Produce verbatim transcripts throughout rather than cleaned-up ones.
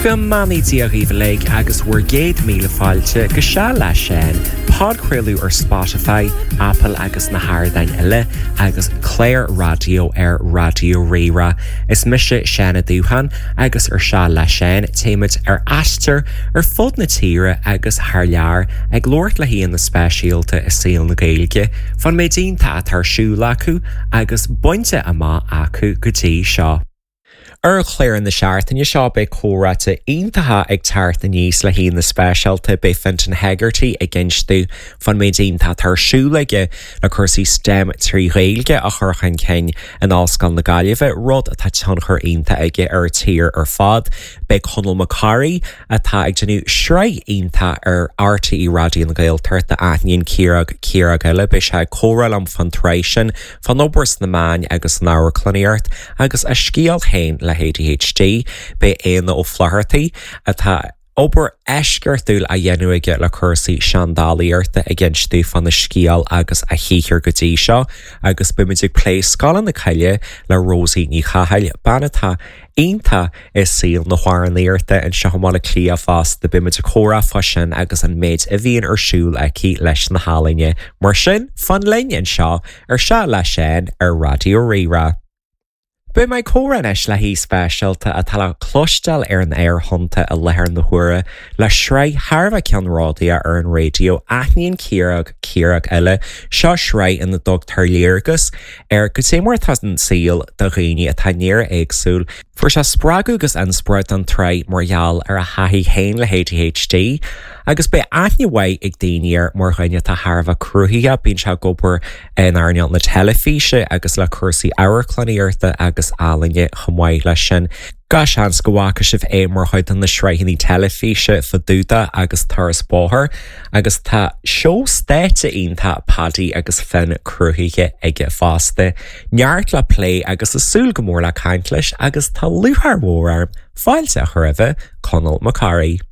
Go mbeannaí Dia dhaoibh uilig agus bhur gcéad míle fáilte go Seal le Seán, podchraoladh ar Spotify, Apple agus na hardáin eile agus clár raidió ar Raidió Rí-Rá. Is mise Seán Ó Dúcháin agus ar Seal le Seán téimid ar aistear ar fud na tíre agus thar lear ag labhairt le haíonna speisialta i saol na Gaeilge, fán méid iontach atá ar siúl acu agus bainte amach acu go dtí seo. Ar chlár na seachtaine seo beidh comhráite iontacha ag teacht aníos le haíonna speisialta beidh Fintan Hegarty ag insint dúinn fán méid iontach atá ar siúl aige le cúrsaí STEM trí Ghaeilge a chur chun cinn in Ollscoil na Gaillimhe, rud atá tionchar iontach aige ar an tír ar fad. Beidh Conall Mac Corraidh atá ag déanamh sraith iontach ar RTÉ Raidió na Gaeltachta Aithníonn Ciarag Ciarag eile beidh sé ag comhrá liom fán tsraith sin fán obair sna meáin agus san amharclannaíocht agus a scéal féin le ADHD, Beidh Éanna Ó Flathartaigh atá obair eisceachtúil á dhéanamh aige le cúrsaí seandálaíochta ag insint dúinn fána scéal agus a shaothar go dtí seo, agus beimid ag plé Scoileanna na Coille le Rosie Ní Chathail, bean atá iontach i saol na hamhránaíochta anseo i mBaile Átha Cliath fosta beimid ag comhrá fá sin agus an méid a bhíonn ar siúl aici leis na healaíona. Mar sin fan linn anseo ar Seal le Seán ar Raidió Rí-Rá. Beidh mé ag comhrá anois le haoi speisialta atá le cloisteáil ar an aerthonnta i láthair na huaire le sraith thar a bheith ceannródaíoch ar an raidió Aithníonn Ciarag Ciarag eile seo sraith ina dtugtar léargas ar goidé mar atá an saol do dhaoine atá néar-éagsúil. Fuair sé spreagadh agus inspioráid don tsraith mar gheall ar a thaithí féin le ADHD, agus beidh aithne mhaith ag daoine air mar dhuine atá thar a bheith cruthaitheach bíonn sé ag obair in earnáil na teilifíse agus le cúrsaí amharclannaíochta agus ealaíne chomh maith leis sin. Gach seans go bhfaca sibh é mar chuid de na sraitheanna teilifíse Fadúda agus Turas Bóthair, agus tá seó stáitse iontach Paddy agus Finn cruthaithe aige fosta. Neart le plé agus ag súil go mór le caint leis agus tá lúcháir mhór orm fáilte a chur roimhe Conall Mac Corraidh.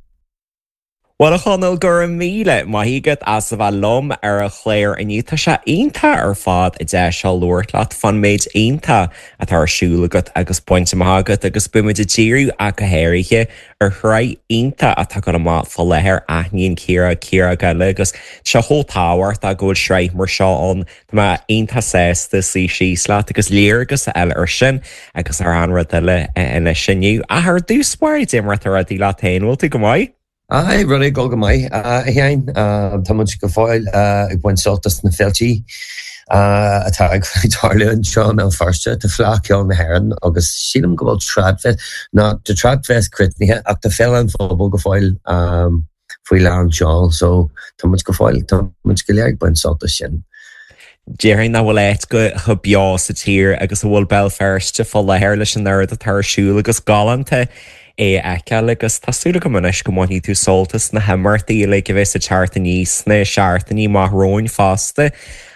Well a Chonaill go raibh míle maith agat as a bheith liom ar an chlár inniu tá sé iontach ar fad an deis seo labhairt leat fán méid iontach atá ar siúl agat agus bainte amach agat agus beimid ag díriú ach go háirithe ar shraith iontach atá ag dul amach fá láthair Aithníonn Ciarag Ciarag eile agus sé chomh tábhachtach go bhfuil sraith mar seo ann Tá mé iontach sásta suí síos leat agus léargas a fháil air sin agus ar an rud eile anois inniu. Ach ar dtús báire cad é mar atá rudaí leat féin bhfuil tú go maith? Aye, rudaí ag dul go maith a Sheáin. Tá muid go fóill ag baint sult as na féiltí atá ag tarlú anseo i mBéal Feirste. Tá Fleadh Cheoil na hÉireann agus sílim go bhfuil Tradfest, ná tá Tradfest críochnaithe ach tá Féile an Phobail go fóill faoi lán seoil so tá muid go fóill, tá muid go léir ag baint sult as sin. Déarfainn nach bhfuil áit go chomh beo sa tír agus a bhfuil Béal Feirste fá láthair leis an oiread atá ar siúl agus galánta é a fheiceáil agus tá súil agam anois go mbainfidh tú sult as na himeachtaí uilig a bheas ag teacht aníos sna seachtainí amach romhainn fosta.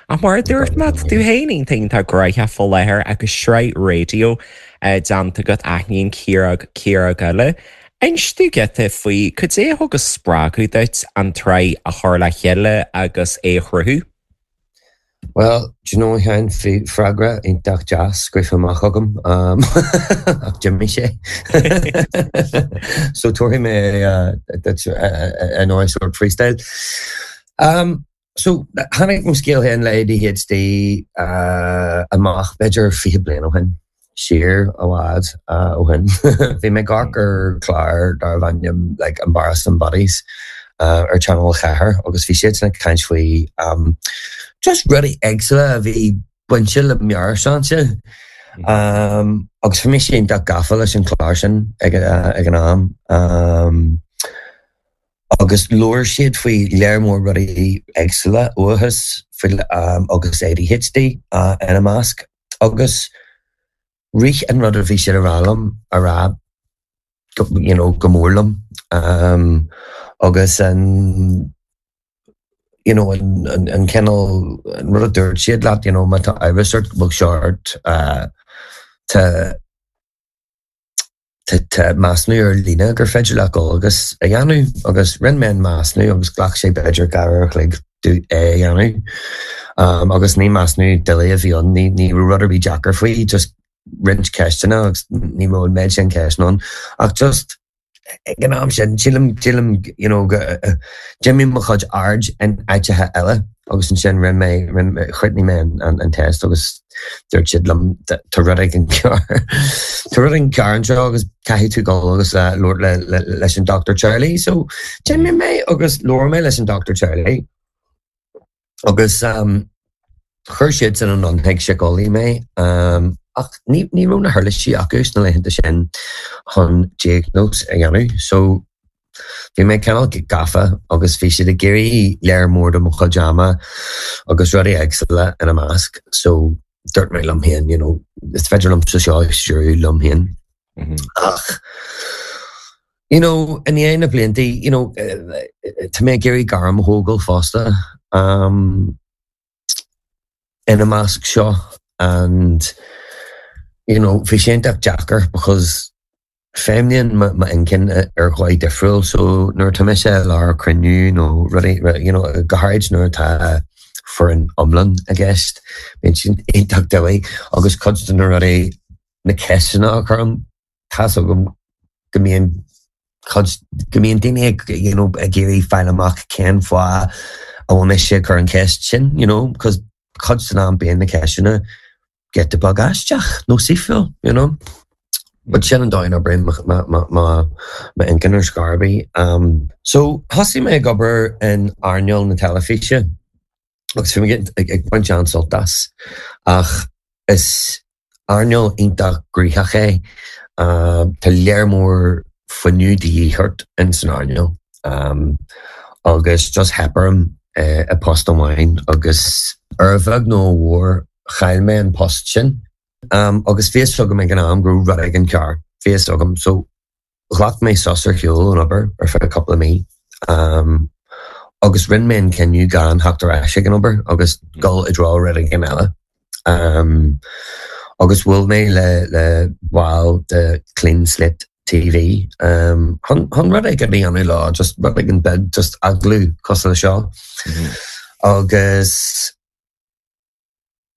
Ach mar a dúirt mé, tá tú féin iontach iontach gnóthach fá láthair agus sraith raidió déanta agat Aithníonn Ciarag Ciarag eile. Inis dúinn giota faoi cad é a thug an spreagadh duit an tsraith a chur le chéile agus é a chruthú. Well, do you know Sheáin bhí freagra iontach deas scríofa amach agam ach d'imigh sé. So tabharfaidh mé duit i ndóigh sort freestyle. Um, so tháinig mo scéal féin le ADHD amach b'fhéidir fiche bliain ó shin. siar i bhfad ó shin. Bhí mé ag amharc ar chlár darbh ainm like Embarrassing Bodies ar Channel Ceathair agus bhí siadsan ag caint faoi just rudaí éagsúla a bhí bainte le meabhairshláinte. Agus bhí mise iontach gafa leis an chlár sin ag an am. Agus labhair siad faoi léar mór rudaí éagsúla, uathachas agus ADHD ina measc. Agus rith an rud a bhí siad a rá liom a rá you know, go mór liom. Um, agus an you know, an, an, an cineál an rud a dúirt siad leat, you know, má tá amhras ort go bhfuil seo ort, uh, tá Tá measúnú ar líne gur féidir leat dul agus a dhéanamh agus rinne mé an measúnú agus ghlac sé b'fhéidir dhá uair a chloig domh é a dhéanamh. Agus ní measúnú doiligh a bhí ann, ní ní raibh rud ar bith deacair faoi, just roinnt ceisteanna agus ní raibh an méid sin ceisteanna ann ach just ag an am sin sílim sílim you know go d'imigh mo chuid aird in áiteacha eile agus ansin rinne mé rinne chríochnaigh mé an an an test agus dúirt siad liom tá rud éigin cearr tá rud éigin cearr anseo agus caithfidh tú dul agus labhairt le le leis an Doctor Charlie so d'imigh mé agus labhair mé leis an Doctor Charlie agus um chuir siadsan anonn chuig síceolaí mé ach ní ní raibh na huirlisí acu sna laethanta sin chun diagnóis a dhéanamh so bhí mé cineál gafa agus bhí siad ag iarraidh léar mór de mo chuid ama agus rudaí éagsúla ina measc so dúirt mé liom féin you know is féidir liomsa seo a stiúradh liom féin ach you know i ndiaidh na blianta you know tá mé ag iarraidh gairm a thógáil fosta um ina measc seo and you know bhí sé iontach deacair because feidhmíonn m'inchinn ar dhóigh difriúil so nuair atá mise i lár cruinniú nó rudaí you know go háirid nuair atá foireann iomlán i gceist bíonn siad iontach doiligh agus cuid de na rudaí na ceisteanna a chuirim tá's agam go mbíonn cuid go mbíonn daoine ag you know ag iarraidh fáil amach cén fáth a bhfuil mise ag cur an cheist sin you know because cuid den am bíonn na ceisteanna giota beag aisteach nó saoithiúil you know. But sin an dóigh a n-oibríonn m'inchinn ar scor ar bith. Um, so thosaigh mé ag obair in earnáil na teilifíse agus bhí mé ag baint an-sult as ach is earnáil iontach gnoitheach é. Tá léar mór fuinneamh de dhíth ort in san earnáil agus just theip orm i post amháin agus ar a bheag nó a mhór chaill mé an post sin. Agus bhí fhios agam ag an am go raibh rud éigin cearr, bhí fhios agam. So ghlac mé sos ar shiúl ón obair ar feadh cúpla mí agus rinne mé an cinneadh gan theacht ar ais ag an obair agus dul i dtreo rud éigin eile. Agus bhuail mé le le baill de Clean Slate TV chun chun rud éigin a dhéanamh leo, just rud éigin beag, just agallamh cosúil le seo. Agus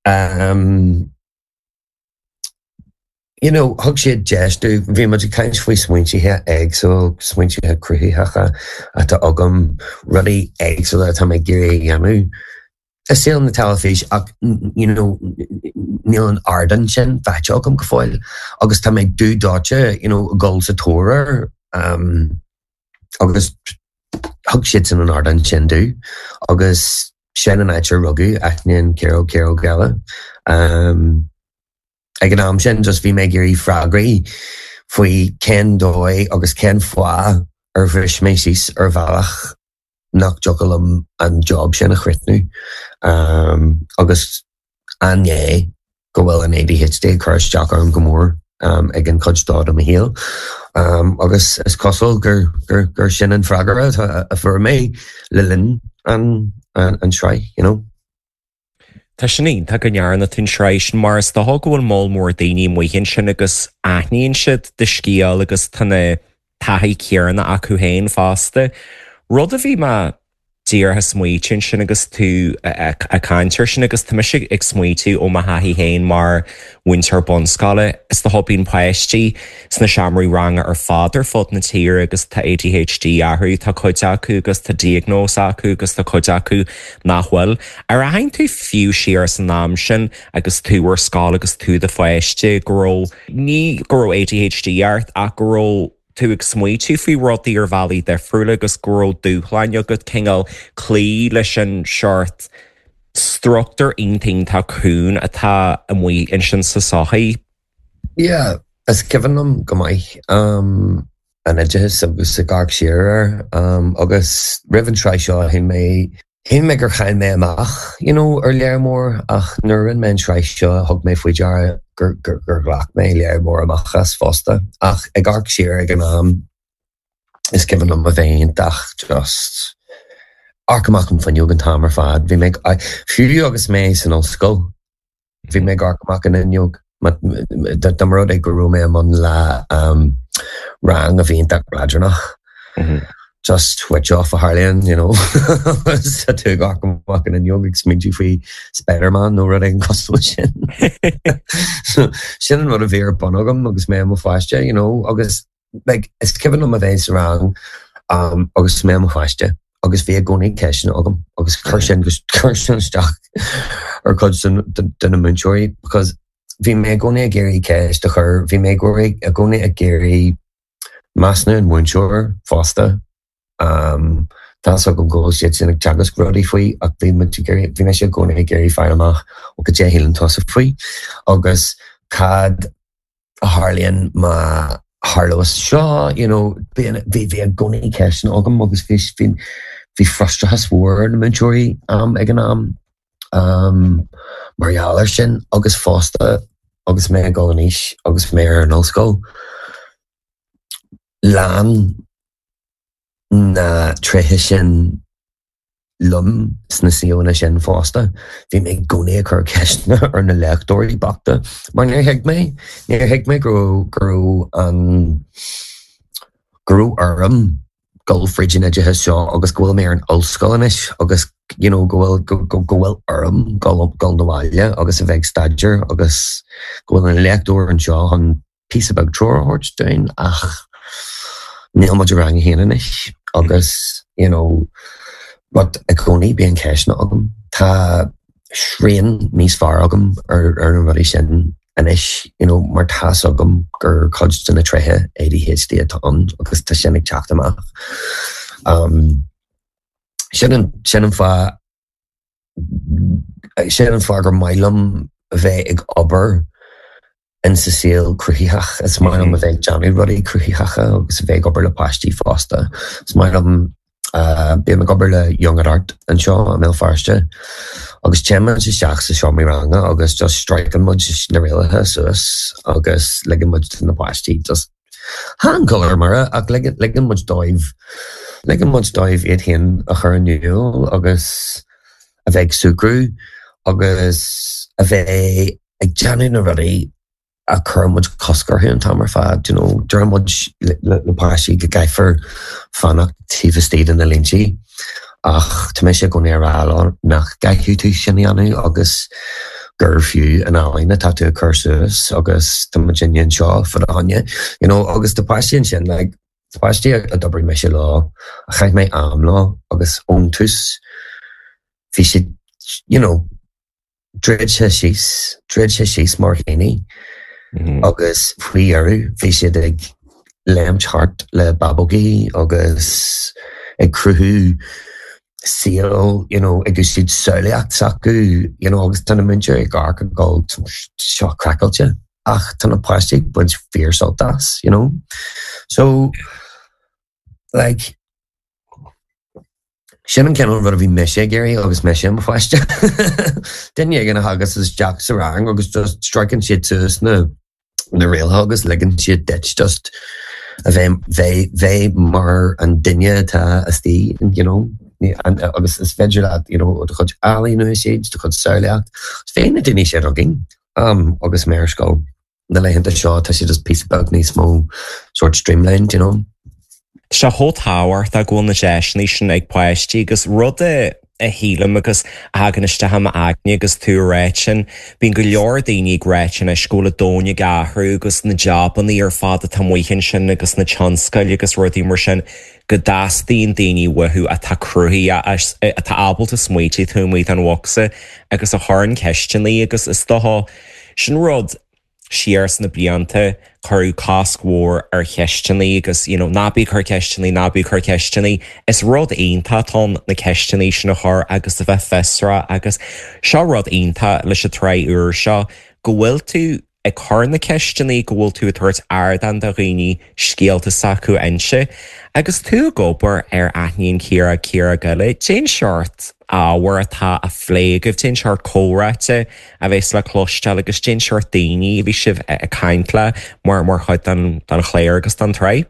um, you know, thug siad deis domh, bhí muid ag caint faoi smaointithe éagsúla, smaointithe cruthaitheacha atá agam, rudaí éagsúla atá mé ag iarraidh a dhéanamh i saol na teilifíse ach you know, níl an ardán sin faighte agam go fóill agus tá mé dubh dóite you know, dul sa tóir air um, agus thug siadsan an ardán sin domh agus sin an áit ar rugadh Aithníonn ciaróg ciaróg eile. Um, ag an am sin just bhí mé ag iarraidh freagraí faoi cén dóigh agus cén fáth ar bhris mé síos ar bhealach nach dtiocfadh liom an job sin a chríochnú. Um, agus an é go bhfuil an ADHD ag cur isteach orm go mór um, ag an chuid seo de mo shaol. Um, agus is cosúil gur, gur, gur sin an freagra a fuair mé le linn an, an, an sraith, you know. Tá sin iontach go ndearna tú an tsraith sin mar is dócha go bhfuil moll mór daoine amuigh ansin agus aithníonn siad do scéal agus tá na taithí céanna acu féin fosta. Rud a bhí mé díreach ag smaoitiú ansin agus tú ag caint air sin agus tá mise ag smaoitiú ó mo thaithí féin mar mhúinteoir bunscoile is dócha bíonn páistí sna seomraí ranga ar fad ar fud na tíre agus tá ADHD orthu, tá cuid acu agus tá diagnóis acu agus tá cuid acu nach bhfuil. Ar aithin tú fiú siar san am sin agus tú ar scoil agus tú i do pháiste go raibh ní go raibh ADHD ort ach go raibh tú ag smaoitiú faoi rudaí ar bhealaí difriúla agus go raibh dúshláin agat cineál cloí leis an seort struchtúr iontach cúng atá amuigh ansin sa sochaí. Yeah, is cuimhin liom go maith um, an oideachas agus ag amharc siar air um, agus roimh an tsraith seo shíl mé shíl mé gur chaill mé amach you know, ar léar mór ach nuair a rinne mé an tsraith seo thug mé faoi deara gur, gur, gur ghlac mé léar mór amach as fosta ach ag amharc siar ag an am is cuimhin liom a bheith iontach just amharc amach an fhuinneog an t-am ar fad. Bhí mé fiú agus mé san ollscoil bhí mé ag amharc amach an fhuinneog dá mba rud é go raibh mé i mbun le um, rang a bhí iontach leadránach. Just switch off a tharlaíonn, you know. Tá tú ag amharc amach an fhuinneog ag smaointiú faoi Spider-Man nó rud éigin cosúil sin. So, sin an rud a bhí ar bun agam agus mé i mo pháiste, you know, agus Like, is cuimhin liom a bheith sa rang um, agus mé i mo pháiste agus bhí i gcónaí ceisteanna agam agus chuir sin chuir sin isteach ar chuid de na múinteoirí because bhí mé i gcónaí ag iarraidh ceist a chur, bhí mé i gcónaí ag iarraidh measúnú an mhúinteoir fosta. Um, Tá agam go bhfuil siad sin ag teagasc rudaí faoi ach bhí bhí mé i gcónaí ag iarraidh fáil amach ó cad é a shíleann tusa faoi agus cad a tharlaíonn má tharlós seo you know, bhí bhí i gcónaí ceisteanna agam agus bhí bhí bhí frustrachas mhór na múinteoirí um, ag an am um, mar gheall air sin agus fosta agus mé ag dul in aois agus mé ar an ollscoil. Lean na tréithe sin liom sna suíomhanna sin fosta. Bhí mé i gcónaí ag cur ceisteanna ar na léachtóirí bochta, mar níor thuig mé níor thuig mé go go raibh an go raibh orm dul fríd an oideachas seo agus go bhfuil mé ar an ollscoil anois agus you know, go bhfuil go, go, go bhfuil orm dul dul na bhaile agus a bheith ag staidéar agus go bhfuil an léachtóir anseo chun píosa beag treoir a thabhairt dúinn ach níl muid i rang a haon anois agus you know, but i gcónaí bíonn ceisteanna agam. Tá srian níos fearr agam ar ar na rudaí sin anois you know, mar tá's agam gur cuid de na tréithe ADHD atá ann agus tá sin ag teacht amach. Um, sin an sin an fáth sin an fáth gur maith liom a bheith ag obair in sa saol cruthaitheach is maith liom a bheith ag déanamh rudaí cruthaitheacha agus a bheith ag obair le páistí fosta. Is maith liom uh, bím ag obair le Young at Art anseo i mBéal Feirste agus téann isteach sa seomra ranga agus just streiceann muid na rialacha suas agus ligeann muid na páistí just chan colour mar ach ligeann muid dóibh ligeann muid dóibh iad féin a chur in iúl agus a bheith ag súgradh agus a bheith ag déanamh na rudaí a chuir muid cosc orthu an t-am ar fad, you know, deir muid le, le, le páistí go gcaithfear fanacht taobh istigh de na línte ach tá mise i gcónaí ag rá leo nach gcaithfidh tú sin a dhéanamh agus gur fiú an ealaín atá tú ag cur suas agus tá muid anseo fá do choinne, you know, agus tá páistí ansin like, tá páistí a d'oibrigh mise leo a chaith mé am leo agus ón tús bhí siad you know, druidte síos, druidte síos mar dhaoine agus faoi dheireadh bhí siad ag léimt thart le bábógaí agus ag cruthú saol you know, ag úsáid samhlaíocht s'acu you know, agus tá na múinteoirí ag amharc ag dul seo craiceáilte ach tá na páistí ag baint fíorsult as, you know. So like sin an cineál rud a bhí mise ag iarraidh agus mise i mo pháiste. Duine éigin a thagas isteach sa rang agus just streiceann siad suas na na rialacha agus ligeann siad duit just a bheith bheith bheith mar an duine atá istigh, you know, agus is féidir leat you know, do chuid ealaín a úsáid, do chuid samhlaíocht. Is bhí na daoine sin againn um, agus mé ar scoil. Na laethanta seo tá siad just píosa beag níos mó sort streamlined, you know. Tá sé chomh tábhachtach go bhfuil na deiseanna sin ag páistí agus rud a a shílim agus a thagann isteach i m'aigne agus tú ag rá sin, bíonn go leor daoine ag rá anois go bhfuil an domhan ag athrú agus na jabanna ar fad atá amuigh ansin agus na tionscail agus rudaí mar sin go dteastaíonn daoine uathu atá cruthaitheach atá ábalta smaointiú taobh amuigh den bhocsa agus a chuireann ceisteanna agus is dócha sin rud siar sna blianta cuireadh cosc mhór ar cheisteanna agus you know, ná bí ag cur ceisteanna ná bí ag cur ceisteanna is rud iontach atá na ceisteanna sin a chur agus a bheith fiosrach agus seo rud iontach leis an tsraith úr seo go bhfuil tú ag cur na ceisteanna go bhfuil tú ag tabhairt ardán do dhaoine scéalta s'acu a inse agus tú ag obair ar Aithníonn Ciara Ciara Eile cén seort ábhar atá á phlé agaibh cén seort comhráite a bheas le cloisteáil agus cén seort daoine a bhí sibh ag caint le mar mar chuid den den chlár agus den tsraith.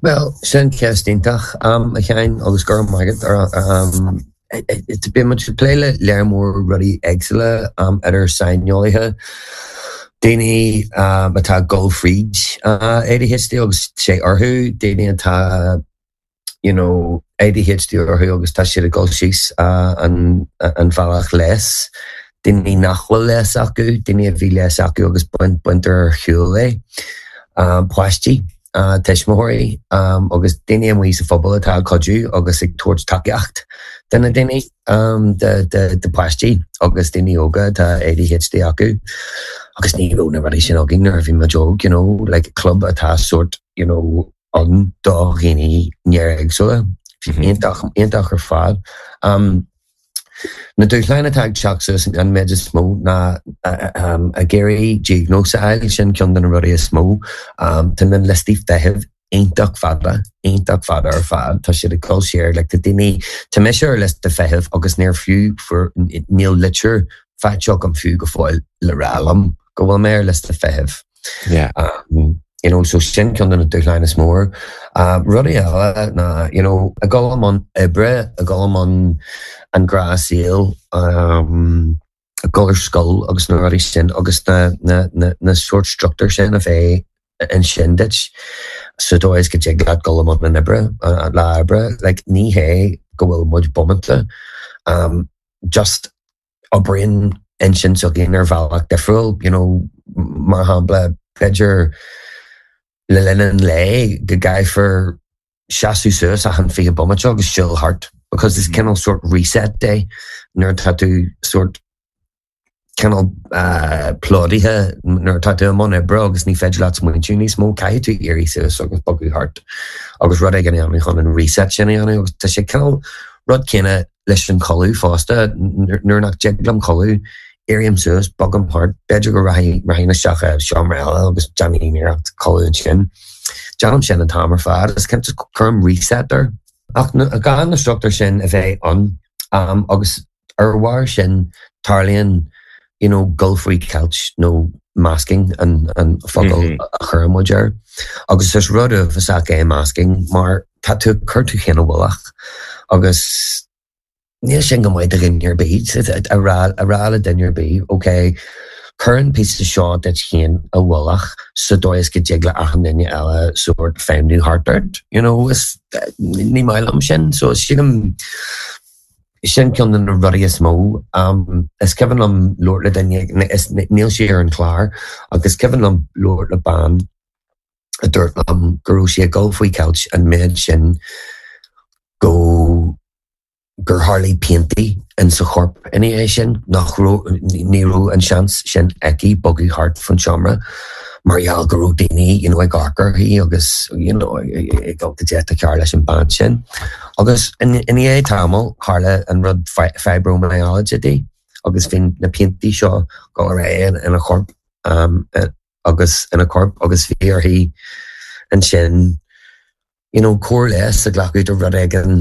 Well, sin ceist iontach um, a Sheáin agus go raibh maith agat ar um, bíonn muid ag plé le léar mór rudaí éagsúla um, idir saineolaithe, daoine um, atá ag dul fríd uh, ADHD agus sé orthu, daoine atá you know, ADHD orthu agus tá siad ag dul síos uh, an, an bhealach leis. Daoine nach bhfuil leigheas acu, daoine a bhí leigheas acu agus baint baintear ar shiúl é. Um, páistí tuismitheoirí agus daoine amuigh sa phobal atá ag cuidiú agus ag tabhairt tacaíocht do na daoine de páistí agus daoine óga atá ADHD acu. Agus ní raibh na rudaí sin againn nuair a bhí muid óg, you know, like club atá sort, you know, ann do dhaoine néaréagsúla. Iontach iontach ar fad. Um, Na dúshláin atá ag teacht suas an méid is mó ná ag iarraidh diagnóis a fháil sin ceann de na rudaí is mó. Tá na liostaí feithimh iontach fada, iontach fada ar fad, Tá siad ag dul siar le tá daoine tá mise ar liosta feithimh agus níor fiú níl litir faighte agam fiú go fóill le rá liom go bhfuil mé ar liosta feithimh. Yeah. Um, you know, so sin ceann de na dúshláin is mó. Uh, rudaí eile ná you know, ag dul i mbun oibre, ag dul i mbun an gnáthshaol um, ag dul ar scoil agus na rudaí sin agus na, na, na, na sort struchtúir sin a bheith ansin duit sa dóigh is go dtig leat dul i mbun an oibre lá oibre, like, ní hé go bhfuil muid bómánta. Um, just oibríonn intinn s'againn ar bhealach difriúil, you know, mar shampla b'fhéidir le linn an lae go gcaithfear seasamh suas achan fiche bomaite agus siúl thart because it's cineál sort reset day nuair atá tú sort cineál uh, plódaithe nuair atá tú i mbun oibre agus ní féidir leat smaointiú níos mó caithfidh tú éirí suas agus bogadh thart agus rud éigin a dhéanamh chun an reset sin a dhéanamh agus tá sé cineál rud céanna leis an codladh fosta nuair nach dtig liom codladh éirím suas bogaim thart b'fhéidir go rachainn isteach i seomra eile agus déanaim iarracht codladh ansin. Déanaim sin an t-am ar fad is cinnte cuirim reset air. Ach gan na struchtúir sin a bheith ann um, agus ar bharr sin tarlaíonn you know, gul faoi cheilt nó masking an, an focal mm -hmm. a chuireann muid air. Agus is rud uafásach é masking mar tá tú cur tú féin i bhfolach agus níl sin go maith do dhuine ar bith a rá a rá le duine ar bith, ok, cuir an píosa seo duit féin i bhfolach sa dóigh is go dtig le achan duine eile sort feidhmiú thart ort, you know, is ní maith liom sin, so sílim sin ceann de na rudaí is mó. Um, is cuimhin liom labhairt le duine is níl sé ar an chlár agus cuimhin liom labhairt le bean a dúirt liom go raibh sí ag dul faoi cheilt an méid sin go gur tharla piantaí in sa chorp ina dhiaidh sin nach raibh ní raibh an seans sin aici bogadh thart faoin seomra mar gheall go raibh daoine you know, ag amharc uirthi agus you know, ag dul go dtí cear leis an bean sin. Agus ina dhiaidh tamall tharla an rud fibromyalgia di agus bhí na piantaí seo go réidh ina chorp um, agus ina corp agus bhí uirthi ansin you know, cóir leighis a ghlacadh do rud éigin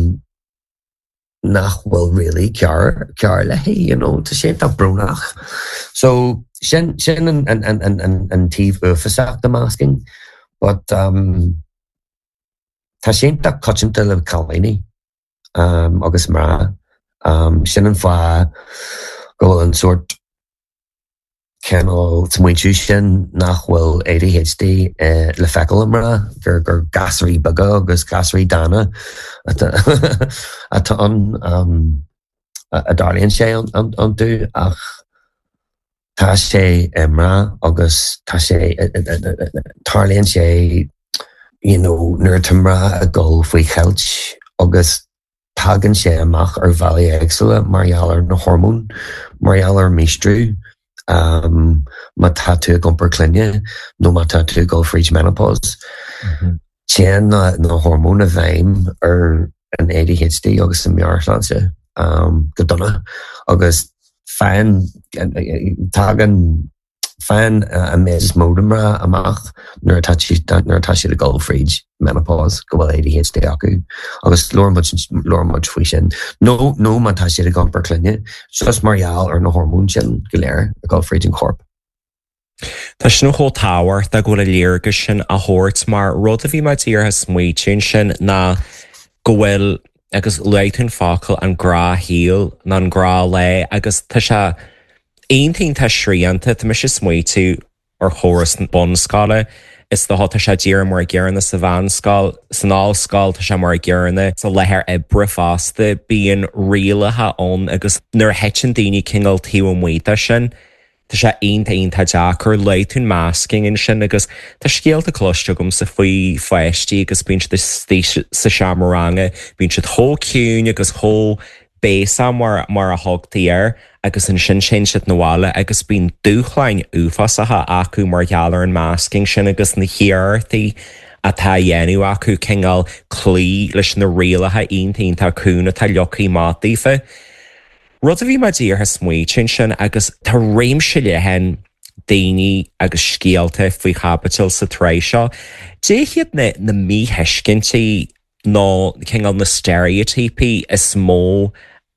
nach bhfuil really cearr cearr léi, you know, tá sé tá brónach. So sin sin an, an, an, an, an, an taobh uafásach de masking, but um, tá sé iontach coitianta le cailíní um, agus mná. Um, sin an fáth go bhfuil an sort cineál smaointiú sin nach bhfuil ADHD eh, le feiceáil i mná gur gur gasúirí beaga agus gasúirí dána atá atá an um, a a dtarlaíonn sé iontu ach tá sé i mná agus tá sé tarlaíonn sé you know, nuair atá mná ag dul faoi cheilt agus tagann sé amach ar bhealaí éagsúla mar gheall ar na hormóin, mar gheall ar míostrú, um, má tá tú ag iompar clainne nó má tá tú ag dul fríd menopause. Téann na, na hormóin i bhfeidhm ar an ADHD agus an meabhairshláinte um, go dona agus faigheann tagann faigheann an méid is mó de mná amach nuair atá siad nuair atá siad ag dul fríd menopause go bhfuil ADHD acu agus labhair muid labhair muid faoi sin. Nó nó má tá siad ag iompar clainne, just mar gheall ar na hormóin sin go léir ag dul fríd an chorp. Tá sin chomh tábhachtach go bhfuil a léargas sin a thabhairt mar rud a bhí mé díreach smaointiú sin ná go bhfuil agus luaigh tú an focal an gnáthshaol ná an gnáthlá agus tá sé aontaíonn tá srianta tá mise smaointiú ar chóras bunscoile is dócha tá sé díreach mar an gcéanna sa mheánscoil san ollscoil tá sé mar an gcéanna sa láthair oibre fosta bíonn rialacha ann agus nuair a thiteann daoine cineál taobh amuigh de sin Tá sé iontach iontach deacair luaigh tú an masking ansin agus tá scéalta cloiste agamsa faoi pháistí agus bíonn siad istigh sa seomra ranga, bíonn siad chomh ciúin agus chomh béasach mar mar a thugtaí air agus ansin téann siad 'na bhaile agus bíonn dúshláin uafásacha acu mar gheall ar an masking sin agus na hiarrachtaí atá á dhéanamh acu cineál cloí leis na rialacha iontach iontach cúng atá leagtha amach daofa. Rud a bhí mé díreach ag smaoitiú ansin agus tá réimse leathan daoine agus scéalta faoi chaibidil sa tsraith seo. Cad iad na na míthuiscintí nó cineál na steiréitíopaí is mó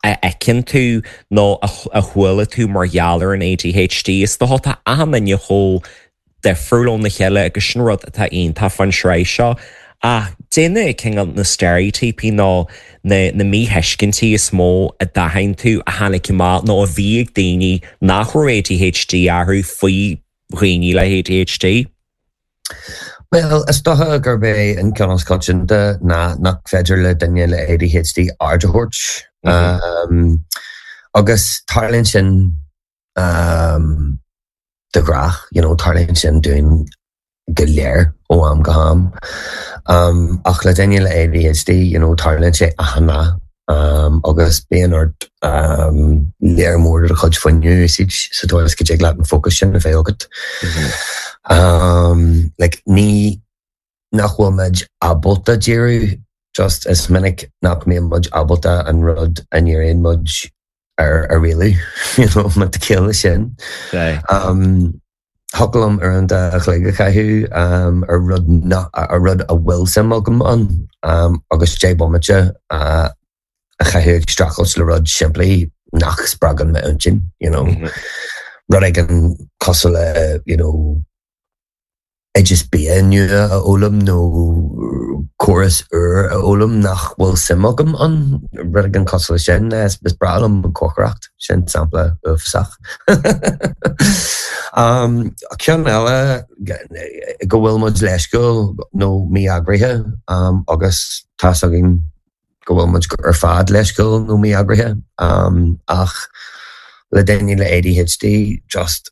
a fheiceann tú nó a chuala tú mar gheall ar an ADHD is dócha tá achan duine chomh difriúil óna chéile agus sin rud atá iontach faoin tsraith seo. Ach cad iad cineál na steiréitíopaí nó na na míthuiscintí is mó a d'aithin tú a tháinig amach nó a bhí ag daoine nach raibh ADHD orthu faoi dhaoine le ADHD? Well, is dócha gurb é an ceann is coitianta ná nach féidir le duine le ADHD aird a thabhairt. Um, agus tarlaíonn sin um, de ghnáth, you know, tarlaíonn sin dúinn go léir ó am go ham. Um, ach le duine le ADHD, you know, tarlaíonn sé achan lá um, agus bíonn ort um, léir mór do chuid fuinnimh a úsáid sa dóigh is go dtig leat an focus sin a bheith agat. Um, like, ní nach bhfuil muid ábalta díriú just is minic nach mbíonn muid ábalta an rud a ndíríonn muid ar a rialú you know, má tá ciall leis sin. Um, Thiocfadh liom uaireanta an chloig a chaitheamh um, ar rud na, ar rud a bhfuil suim agam ann um, agus deich bomaite uh, a chaitheamh ag streachailt le rud simplí nach spreagann m'intinn, you know. Mm -hmm. Rud éigin cosúil le you know, oideas bia nua a fhoghlaim nó córas úr a fhoghlaim nach bhfuil suim agam ann rud éigin cosúil leis sin is is breá liom an chócaireacht sin sampla uafásach. um, Ceann eile go bhfuil muid leisciúil nó mí-eagraithe um, agus tá againn go bhfuil muid ar fad leisciúil nó mí-eagraithe um, ach le daoine le ADHD just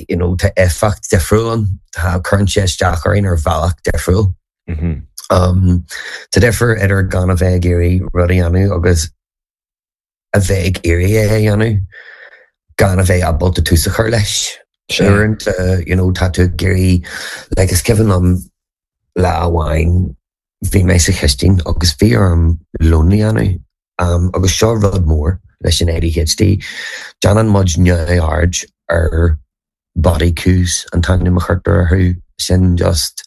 you know, tá éifeacht difriúil ann tá cuireann sé isteach orainn ar bhealach difriúil. Mm -hmm. Um, tá difear idir gan a bheith ag iarraidh rud a dhéanamh agus a bheith ag iarraidh é a dhéanamh gan a bheith ábalta tús a chur leis. Uaireanta you know, tá tú ag iarraidh like, is cuimhin liom lá amháin bhí mé sa chistin agus bhí orm lón a dhéanamh um, agus seo rud mór leis an ADHD. Déanann muid neamhaird ar body cues an t-ainm a chuirtear orthu sin just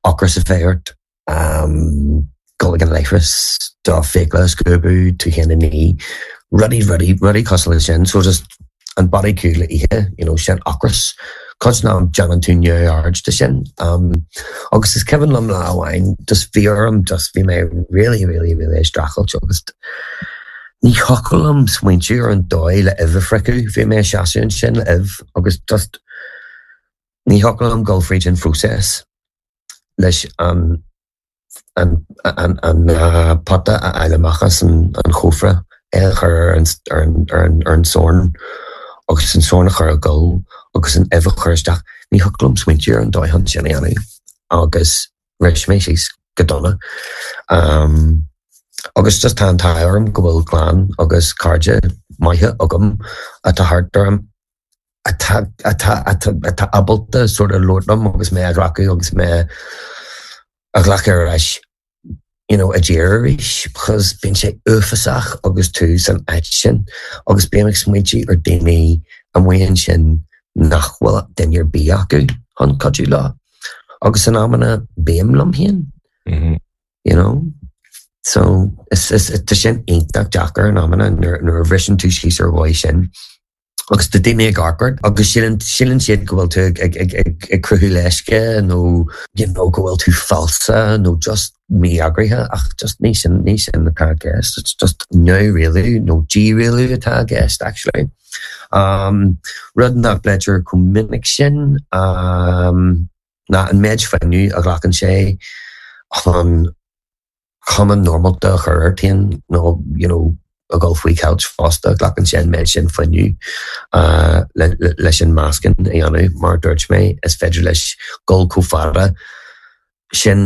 ocras a bheith ort um, dul ag an leithreas do fiacla a scuabadh tú féin a ní rudaí rudaí rudaí cosúil leis sin so just an body cue le ithe you know, sin ocras Cuid ná déanann tú neamhaird de sin um, agus is cuimhin liom lá amháin just bhí orm just bhí mé really really really streachailt agus ní thiocfadh liom smaointiú ar an dóigh le uibh a fhriochadh bhí mé seasamh ansin le uibh agus just ní thiocfadh liom dul fríd an phróiseas leis an an an an uh, pota a fháil amach as an, an chófra é a chur ar an, ar an, ar an, ar an sorn agus an sorn a chur ag gol agus an uibh a chur isteach ní thiocfadh liom smaointiú ar an dóigh chun sin a dhéanamh agus bhris mé síos go dona. Um, agus just tá an t-ádh orm go bhfuil clann agus cairde maithe agam atá thart orm atá atá atá atá ábalta sort of labhairt liom agus mé a ghlacadh agus mé a ghlacadh ar ais you know, i dtír arís because bíonn sé uafásach agus tú san áit sin agus bím ag smaointiú ar daoine amuigh ansin nach bhfuil duine ar bith acu chun cuidiú leo. Agus in amanna bím liom féin. Mm -hmm. you know? So is is tá sin iontach deacair in amanna nuair nuair a bhriseann tú síos ar dhóigh sin. Agus tá daoine ag amharc ort agus síleann síleann siad go bhfuil tú ag ag ag ag ag cruthú leisce nó you know, go bhfuil tú falsa nó just mí-eagraithe ach just ní sin ní sin atá i gceist. It's just neamhrialú nó dírialú atá i gceist actually. Um, rud nach bpléitear chomh minic sin um, ná an méid fuinnimh a ghlacann sé chun cuma normálta a chur ort féin nó you know, a dhul faoi cheilt fosta glacann sé an méid sin fuinnimh uh, le, le, leis an masking a dhéanamh mar dúirt mé is féidir leis dul chomh fada sin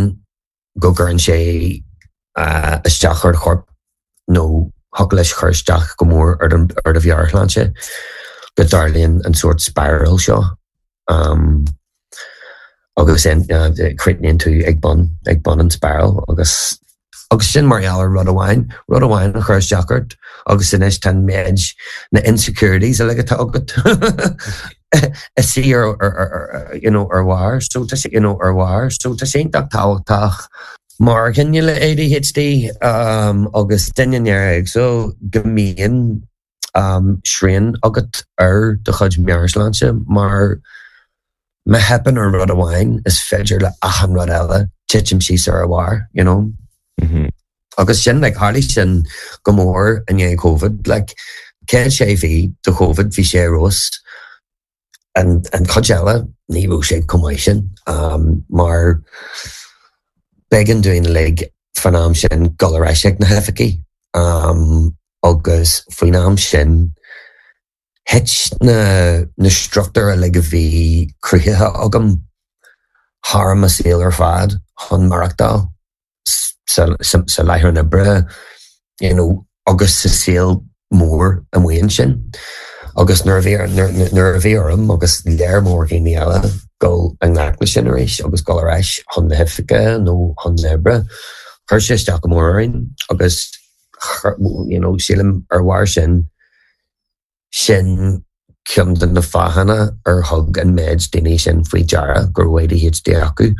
go gcuireann sé uh, isteach ar chorp nó thig leis cur isteach go mór ar ar do mheabhairshláinte go dtarlaíonn an sórt spiral seo. Um, agus uh, críochnaíonn tú ag bun ag bun an spiral agus agus sin mar gheall ar rud amháin rud amháin a chur isteach ort agus anois tá méid na insecurities uilig atá agat is sí ar you know ar bharr so tá you know ar bharr so tá sé tábhachtach mar dhuine le ADHD um, agus duine néaréagsúil go mbíonn um, srian agat ar do chuid meabhairshláinte mar má theipeann ar rud amháin is féidir le achan rud eile titim síos ar a bharr you know Mm -hmm. agus sin like tharla sin go mór i ndiaidh COVID like cén sé bhí do COVID bhí sé ros an an chuid eile ní raibh sé chomh maith sin um, mar b'éigean dúinn uilig fan am sin dul ar ais ag na hoifigí um, agus faoin am sin thit na na struchtúir uilig a bhí cruthaithe agam thar mo shaol ar fad chun maireachtáil sa, sa, sa láthair oibre you know, agus sa saol mór amuigh ansin. agus nuair nuair a bhí orm agus lear mór daoine eile dul i ngleic leis sin arís agus dul ar ais chun na hoifige nó chun na hoibre. Chuir sé isteach go mór orainn agus you know, sílim ar bharr sin sin ceann de na fáthanna ar thug an méid daoine sin faoi deara go raibh ADHD acu.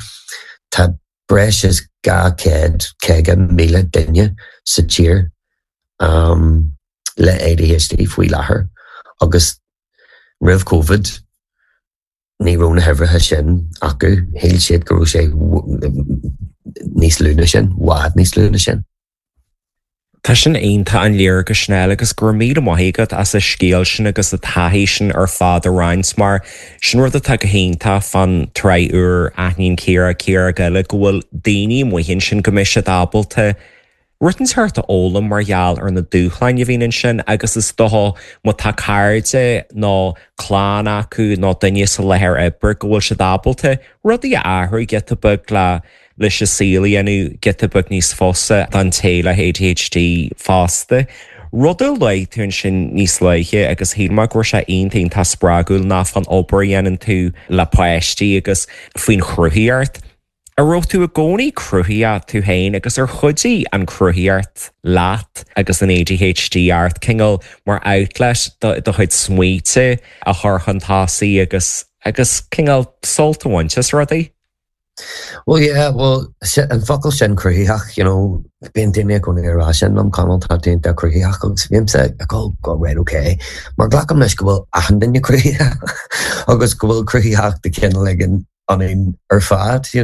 Tá breis is dhá chéad caoga míle duine sa tír um, le ADHD faoi láthair agus roimh COVID ní raibh na huimhreacha sin acu shíl siad go raibh sé níos lú ná sin, bhfad níos lú ná sin. Tá sin iontach an léargas sin agus go raibh míle maith agat as an scéal sin agus an taithí sin ar fad a roinnt mar sin rud atá go hiontach fán tsraith úr Aithníonn Ciara Ciara Gile go bhfuil daoine amuigh ansin go mbeidh siad ábalta rud inteacht a fhoghlaim mar gheall ar na dúshláin a bhíonn ansin agus is dócha má tá cairde nó clann acu nó duine sa láthair oibre go bhfuil siad ábalta rudaí a athrú giota beag le leis an saol a dhéanamh giota beag níos fusa don té le ADHD fosta. Rud a luaigh tú ansin níos luaithe agus shíl mé go raibh sé iontach iontach spreagúil ná fán obair a dhéanann tú le páistí agus faoin chruthaíocht. An raibh tú i gcónaí cruthaitheach tú féin agus ar chuidigh an chruthaíocht leat agus an ADHD ort cineál mar outlet do do chuid smaointe a chur chun tosaigh agus agus cineál sult a bhaint as rudaí? Well yeah, well an focal sin cruthaitheach, you know, bíonn daoine i gcónaí ag rá sin liom Conall tá tú iontach cruthaitheach agus bímse ag go go right okay. Mar glacaim leis go bhfuil achan duine cruthaitheach agus go bhfuil cruthaitheacht de chineál éigin ionainn ar fad, you